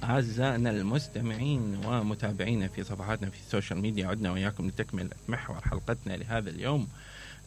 أعزائنا المستمعين ومتابعينا في صفحاتنا في السوشيال ميديا، عدنا وإياكم لتكمل محور حلقتنا لهذا اليوم.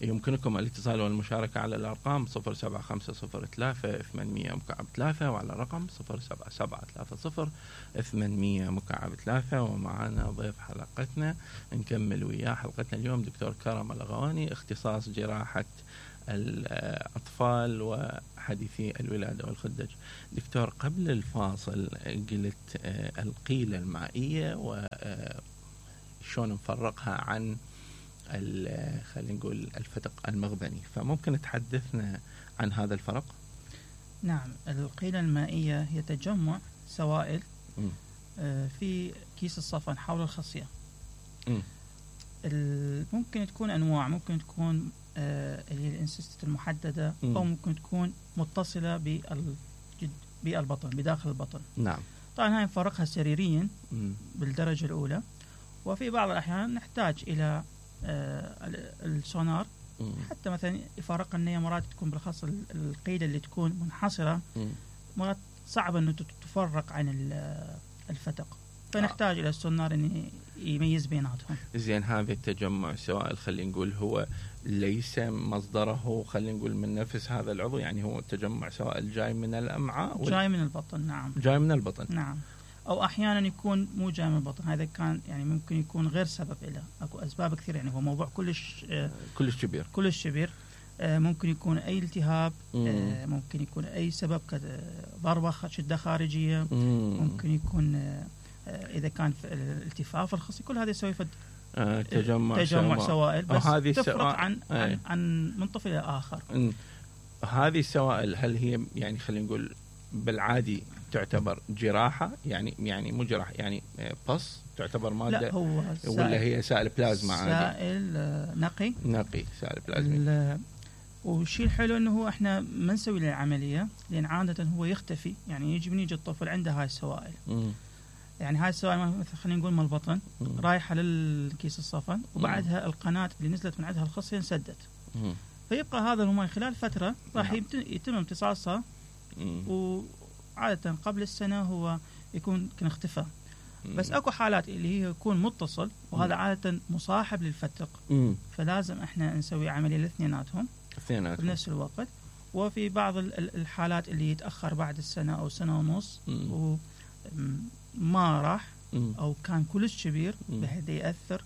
يمكنكم الاتصال والمشاركة على الأرقام 07503 وعلى الرقم 07730 ومعنا ضيف حلقتنا نكمل وياه حلقتنا اليوم دكتور كرم الأغواني، اختصاص جراحة الأطفال وحديثي الولادة والخدج. دكتور، قبل الفاصل قلت القيلة المائية وشون نفرقها عن خلينا نقول الفتق المغبني، فممكن تحدثنا عن هذا الفرق؟ نعم، القيلة المائية هي تجمع سوائل في كيس الصفن حول الخصية. ممكن تكون أنواع، ممكن تكون اللي هي الانسيست المحددة، أو ممكن تكون متصلة بالبطن بداخل البطن. نعم. طبعا هاي نفرقها سريريا بالدرجة الأولى، وفي بعض الأحيان نحتاج إلى السونار حتى مثلا يفرق النية. مرات تكون بالخاصة القيلة اللي تكون منحصرة، مرات صعب أنه تفرق عن الفتق، فنحتاج إلى السونار أن يميز بيناتهم. زين، هذا التجمع سوائل خلينا نقول هو ليس مصدره خلينا نقول من نفس هذا العضو، يعني هو تجمع سوائل جاي من الأمعاء جاي من البطن. نعم، جاي من البطن. نعم، أو أحيانا يكون مو جاي من البطن. هذا كان يعني ممكن يكون غير سبب له، أكو أسباب كثير، يعني هو موضوع كلش كبير. ممكن يكون أي التهاب، ممكن يكون أي سبب ضربة شدة خارجية، ممكن يكون إذا كان الالتفاف الخصي، كل هذا يسوي تجمع سوائل، بس تفرق عن من طفل إلى آخر. هذه السوائل هل هي يعني خلينا نقول بالعادي تعتبر جراحة، يعني مو جراحة، يعني بص تعتبر مادة؟ لا، هو ولا هي سائل بلازما عادي؟ سائل نقي سائل بلازما. والشيء الحلو انه هو احنا ما نسوي له العملية، لان عادة هو يختفي، يعني يجي الطفل عنده هاي السوائل. يعني هاي السوائل مثلا خلينا نقول من البطن رايحة للكيس الصفن، وبعدها القناة اللي نزلت من عندها الخصية انسدت، فيبقى هذا الماء خلال فترة راح يتم امتصاصها، وعادة قبل السنة هو يكون اختفى. بس اكو حالات اللي هي يكون متصل، وهذا عادة مصاحب للفتق، فلازم احنا نسوي عملية الاثنيناتهم بنفس الوقت. وفي بعض الحالات اللي يتأخر بعد السنة أو سنة ونص وما راح، أو كان كلش كبير بحيث يأثر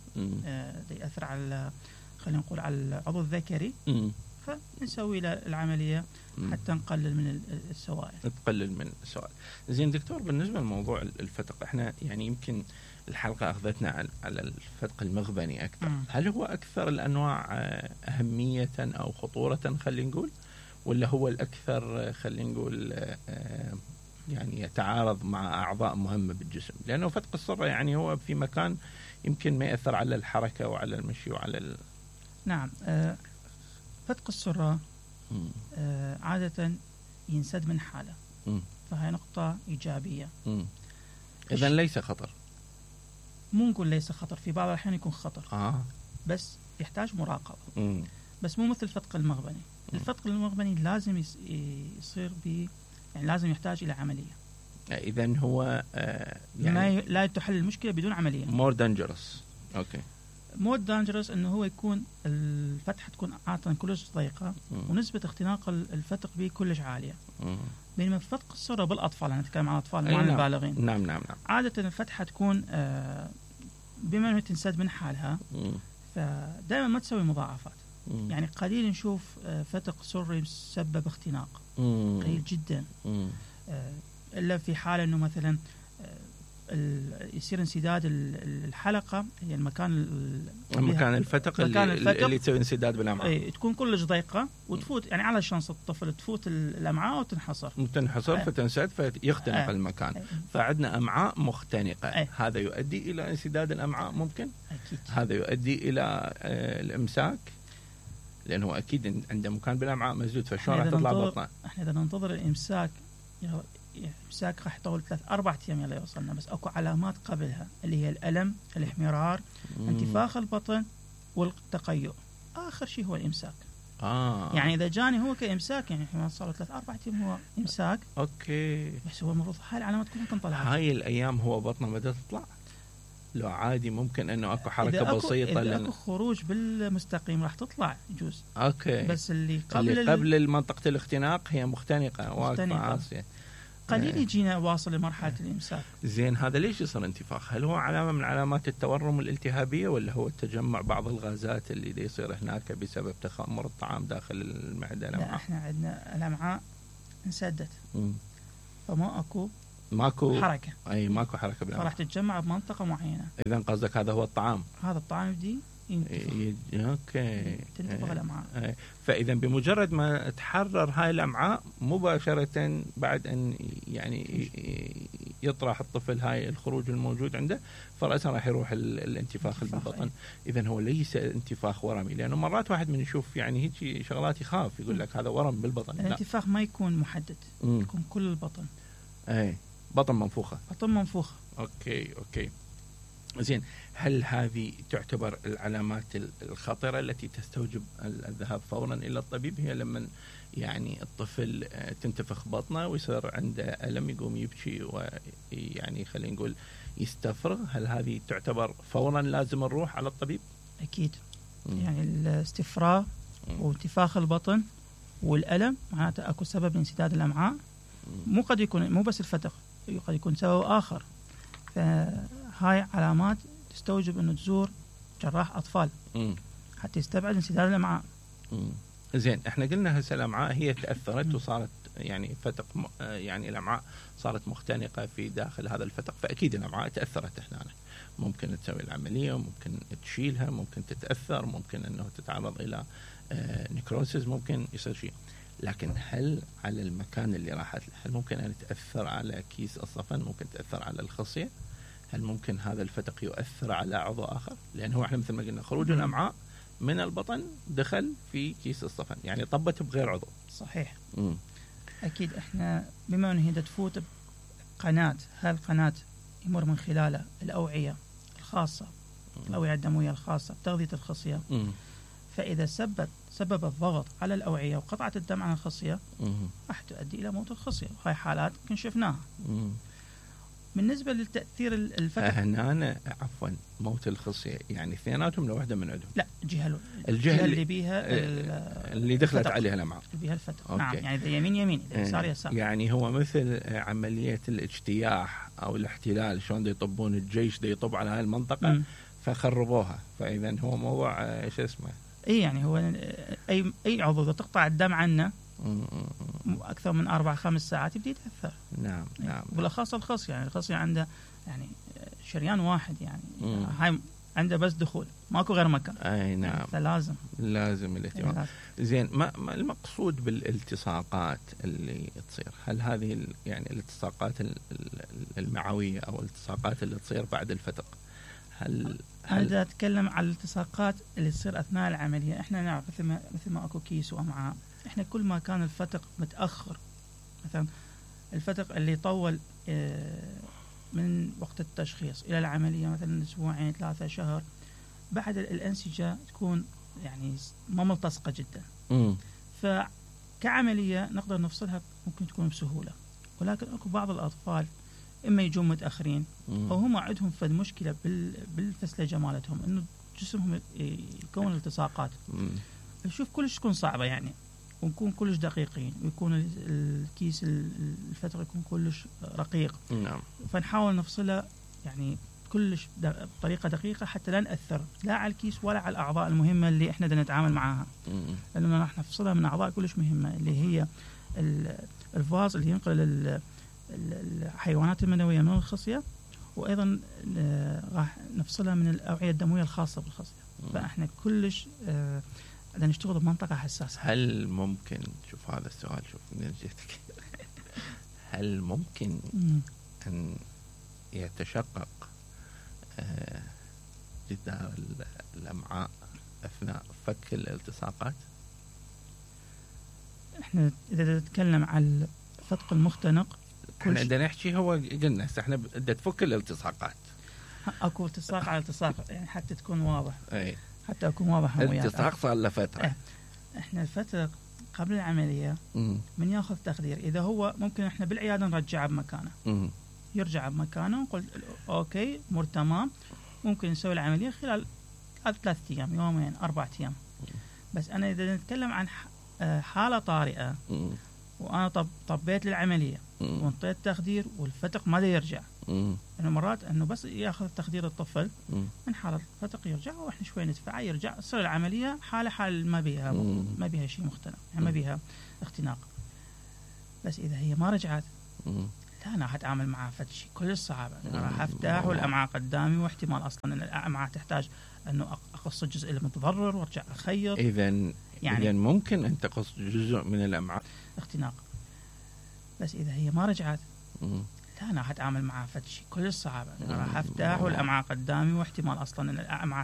على خلينا نقول على العضو الذكري، فنسوي له العملية حتى نقلل من السوائل. زين دكتور، بالنسبة لموضوع الفتق، احنا يعني يمكن الحلقة أخذتنا على الفتق المغبني أكثر. هل هو أكثر الأنواع أهمية أو خطورة خلينا نقول، ولا هو الأكثر خلينا نقول يعني يتعارض مع أعضاء مهمة بالجسم؟ لأنه فتق السرة يعني هو في مكان يمكن ما يأثر على الحركة وعلى المشي وعلى نعم. فتق السرة عادة ينسد من حالة، فهي نقطة إيجابية. إذن ليس خطر؟ مو نقول ليس خطر، في بعض الأحيان يكون خطر، بس يحتاج مراقبة. بس مو مثل الفتق المغبني. الفتق المغبني لازم يصير يعني لازم يحتاج إلى عملية. إذن هو يعني لا تحل المشكلة بدون عملية. more dangerous. more dangerous إنه هو يكون الفتحة تكون عادة كلش ضيقة، ونسبة اختناق الفتق به كلش عالية. بينما فتق السرة بالأطفال، أنا أتكلم عن الأطفال مع البالغين. نعم. عادة الفتحة تكون بما أنه تنسد من حالها، فدائما ما تسوي مضاعفات. يعني قليل نشوف فتق سري يسبب اختناق، قليل جدا. إلا في حالة أنه مثلا يصير انسداد الحلقة، هي المكان الفتق اللي تسوي انسداد بالأمعاء، تكون كلش ضيقة وتفوت يعني على شانس الطفل، تفوت الأمعاء وتنحصر فتنسد فيختنق المكان. فعندنا أمعاء مختنقة، هذا يؤدي إلى انسداد الأمعاء ممكن. أكيد. هذا يؤدي إلى الإمساك، لأنه أكيد عنده مكان بالأمعاء مسدود، فشون راح تطلع بطنه؟ احنا إذا ننتظر الإمساك، إمساك راح يطول 3-4 أيام يلا يوصلنا، بس أكو علامات قبلها اللي هي الألم، الاحمرار، انتفاخ البطن والتقيؤ. آخر شيء هو الإمساك. يعني اذا جاني هو كامساك، يعني احنا صار 3-4 ايام هو امساك، اوكي، بس هو المفروض هاي العلامات كلها ممكن طلعت. هاي الايام هو بطنه بدأت تطلع، لو عادي ممكن انه اكو حركه إذا بسيطه، اذا اكو خروج بالمستقيم راح تطلع يجوز. اوكي، بس اللي قبل منطقه الاختناق هي مختنقه واقفه عاصيه، قليل يجينا واصل لمرحله الامساك. زين، هذا ليش يصير انتفاخ؟ هل هو علامه من علامات التورم الالتهابيه، ولا هو تجمع بعض الغازات اللي دي يصير هناك بسبب تخمر الطعام داخل المعده؟ لا، احنا عندنا الامعاء انسدت، فما ماكو حركه، اي ماكو حركه بالامعاء، فراح تتجمع بمنطقه معينه. اذا قصدك هذا هو الطعام، هذا الطعام يبدي اوكي، تنتفخ الامعاء. فاذا بمجرد ما تحرر هاي الامعاء مباشره بعد ان يعني يطرح الطفل هاي الخروج الموجود عنده، فرأسا راح يروح الانتفاخ بالبطن. اذا هو ليس انتفاخ ورمي، لانه مرات واحد من يشوف يعني هيك شغلات يخاف، يقول لك هذا ورم بالبطن. الانتفاخ ما يكون محدد، يكون كل البطن. اي بطن منفوخه، بطن منفوخه. اوكي. زين، هل هذه تعتبر العلامات الخطرة التي تستوجب الذهاب فورا إلى الطبيب؟ هي لما يعني الطفل تنتفخ بطنه ويصير عنده ألم، يقوم يبكي ويعني خلينا نقول يستفرغ، هل هذه تعتبر فورا لازم نروح على الطبيب؟ أكيد. يعني الاستفراغ وانتفاخ البطن والألم معناته أكو سبب لانسداد الأمعاء، قد يكون مو بس الفتق، قد يكون سبب آخر. فهاي علامات تستوجب أنه تزور جراح أطفال حتى يستبعد انسداد الأمعاء. زين، احنا قلنا هسه الأمعاء هي تأثرت وصارت يعني فتق، يعني الأمعاء صارت مختنقة في داخل هذا الفتق، فأكيد الأمعاء تأثرت هنا. ممكن تسوي العملية، ممكن تشيلها، ممكن تتأثر، ممكن أنه تتعرض إلى نيكروسيس، ممكن يصير شيء. لكن هل على المكان اللي راحت له، هل ممكن أن تأثر على كيس الصفن؟ ممكن تأثر على الخصية؟ هل ممكن هذا الفتق يؤثر على عضو آخر؟ لأنه احنا مثل ما قلنا خروج الأمعاء من البطن دخل في كيس الصفن، يعني طبت بغير عضو. صحيح. أكيد احنا بما أنه هي تفوت بقناة، هالقناة يمر من خلالها الأوعية الخاصة، الأوعية الدموية الخاصة بتغذية الخصية. فإذا سبب الضغط على الأوعية وقطعت الدم عن الخصية راح تؤدي إلى موت الخصية، وهي حالات كن شفناها. بالنسبة للتأثير الفتق هنا، عفوا، موت الخصية يعني اثنيناتهم لوحدة من عندهم؟ لا، الجهة اللي بيها اللي دخلت عليها الأمعاء، اللي بيها الفتق. نعم، يعني إذا يمين إذا يسار يسار. يعني هو مثل عملية الاجتياح أو الاحتلال، شلون يطبون الجيش يطب على هاي المنطقة فخربوها. فإذا هو موضوع ايش اسمه، يعني هو أي عضو إذا تقطع الدم عنه أكثر من 4-5 ساعات يبدأ يتأثر. نعم. بالأخص الخصية، يعني الخصية عنده يعني شريان واحد، يعني هاي عنده بس دخول، ماكو غير مكان. أي نعم، يعني فلازم الاهتمام. زين، ما المقصود بالالتصاقات اللي تصير؟ هل هذه يعني الالتصاقات المعوية أو الالتصاقات اللي تصير بعد الفتق؟ هل أنا أتكلم على الالتصاقات اللي تصير أثناء العملية. إحنا نعرف مثل ما أكو كيس وأمعاء، إحنا كل ما كان الفتق متأخر، مثلا الفتق اللي طول من وقت التشخيص إلى العملية مثلا 2-3 شهر، بعد الأنسجة تكون يعني ما ملتصقة جدا. فكعملية نقدر نفصلها ممكن تكون بسهولة، ولكن أكو بعض الأطفال إما يجون متأخرين أو هم عندهم فد مشكلة بالفسلجة مالتهم، إنه جسمهم يكون التصاقات. نشوف كلش تكون صعبة يعني، ونكون كلش دقيقين، ويكون الكيس الفتق يكون كلش رقيق. نعم. فنحاول نفصلها يعني كلش بطريقة دقيقة حتى لا نأثر لا على الكيس ولا على الأعضاء المهمة اللي إحنا بدنا نتعامل معها، لأننا راح نفصلها من أعضاء كلش مهمة، اللي هي الفاز اللي ينقل الحيوانات المنوية من الخصية، وأيضا راح نفصلها من الأوعية الدموية الخاصة بالخصية. فإحنا كلش بدنا نشتغل بمنطقة حساسة. هل ممكن، شوف هذا السؤال، شوف من جهتك، هل ممكن أن يتشقق جدار الأمعاء أثناء فك الالتصاقات؟ إحنا إذا نتكلم عن الفتق المختنق، احنا بدنا نحكي، هو قلنا احنا بدنا تفك الالتصاقات، اكو التصاق على التصاق، يعني حتى تكون واضح. اي، حتى اكون واضح. الالتصاق صار له فتره. احنا الفتره قبل العمليه من ياخذ تخدير، اذا هو ممكن احنا بالعياده نرجعه بمكانه، يرجع بمكانه، نقول اوكي امور تمام، ممكن نسوي العمليه خلال 3 ايام، يومين، 4 ايام. بس انا اذا نتكلم عن حاله طارئه وانا طبيت للعمليه وانطيت تخدير والفتق ما يرجع، انه مرات انه بس ياخذ تخدير الطفل من حاله الفتق يرجع، واحنا شوي ندفعه يرجع، تصير العمليه حال ما بيها شيء مختلف، يعني ما بيها اختناق. بس اذا هي ما رجعت، لا انا حتعامل معها شيء كل صعبه، راح افتح والامعاء قدامي، واحتمال اصلا ان الامعاء تحتاج انه اقص الجزء المتضرر وارجع اخيط. اذا ممكن ان تقص جزء من الامعاء اختناق. بس اذا هي ما رجعت، لا انا حتعامل معها شيء كل صعبه، راح افتح والامعاء قدامي، واحتمال اصلا ان الامعاء